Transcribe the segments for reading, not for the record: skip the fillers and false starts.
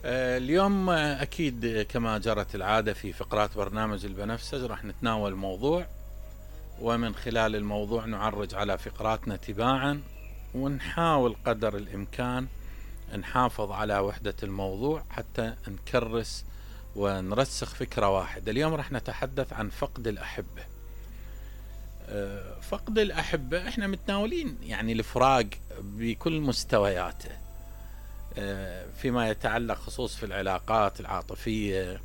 اليوم أكيد كما جرت العادة في فقرات برنامج البنفسج راح نتناول موضوع، ومن خلال الموضوع نعرج على فقراتنا تباعا، ونحاول قدر الإمكان نحافظ على وحدة الموضوع حتى نكرس ونرسخ فكرة واحدة. اليوم راح نتحدث عن فقد الأحبة. فقد الأحبة احنا متناولين يعني الفراق بكل مستوياته، فيما يتعلق خصوص في العلاقات العاطفية،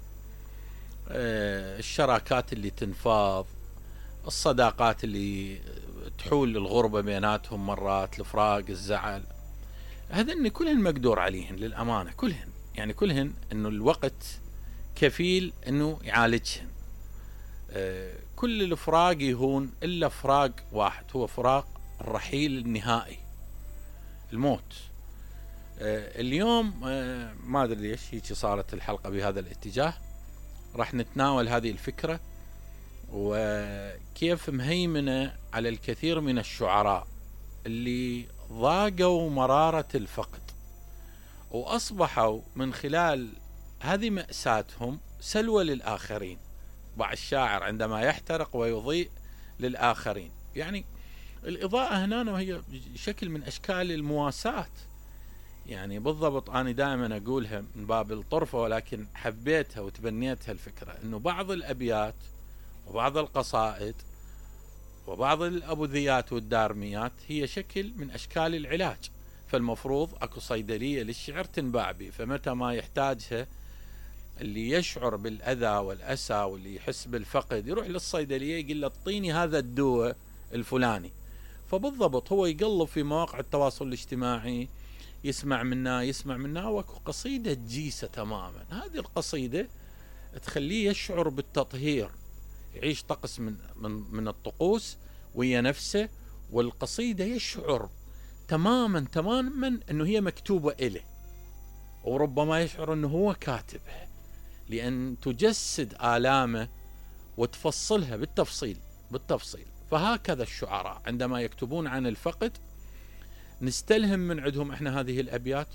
الشراكات اللي تنفاض، الصداقات اللي تحول الغربة بيناتهم مرات، الفراق، الزعل، هذن كلهن مقدور عليهن للأمانة، كلهن يعني كلهن انه الوقت كفيل انه يعالجهن. كل الفراق يهون الا فراق واحد، هو فراق الرحيل النهائي، الموت. اليوم ما ادري ليش هيك صارت الحلقة بهذا الاتجاه. راح نتناول هذه الفكرة وكيف مهيمنة على الكثير من الشعراء اللي ضاقوا مرارة الفقد، وأصبحوا من خلال هذه مأساتهم سلوى للآخرين. بعض الشاعر عندما يحترق ويضيء للآخرين، يعني الإضاءة هنا وهي شكل من أشكال المواساة. يعني بالضبط أنا دائما أقولها من باب الطرفة، ولكن حبيتها وتبنيتها الفكرة أنه بعض الأبيات وبعض القصائد وبعض الأبوذيات والدارميات هي شكل من أشكال العلاج. فالمفروض أكو صيدلية للشعر تنباع به، فمتى ما يحتاجها اللي يشعر بالأذى والأسى واللي يحس بالفقد يروح للصيدلية يقول له اعطيني هذا الدواء الفلاني. فبالضبط هو يقلب في مواقع التواصل الاجتماعي، يسمع منا وكو قصيدة جيسة تماما. هذه القصيدة تخليه يشعر بالتطهير، يعيش طقس من الطقوس ويا نفسه، والقصيدة يشعر تماما انه هي مكتوبة إله، وربما يشعر انه هو كاتبها، لأن تجسد آلامه وتفصلها بالتفصيل. فهكذا الشعراء عندما يكتبون عن الفقد نستلهم من عندهم احنا هذه الأبيات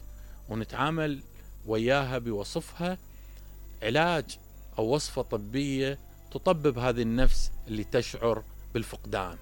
ونتعامل وياها بوصفها علاج أو وصفة طبية تطبب هذه النفس اللي تشعر بالفقدان.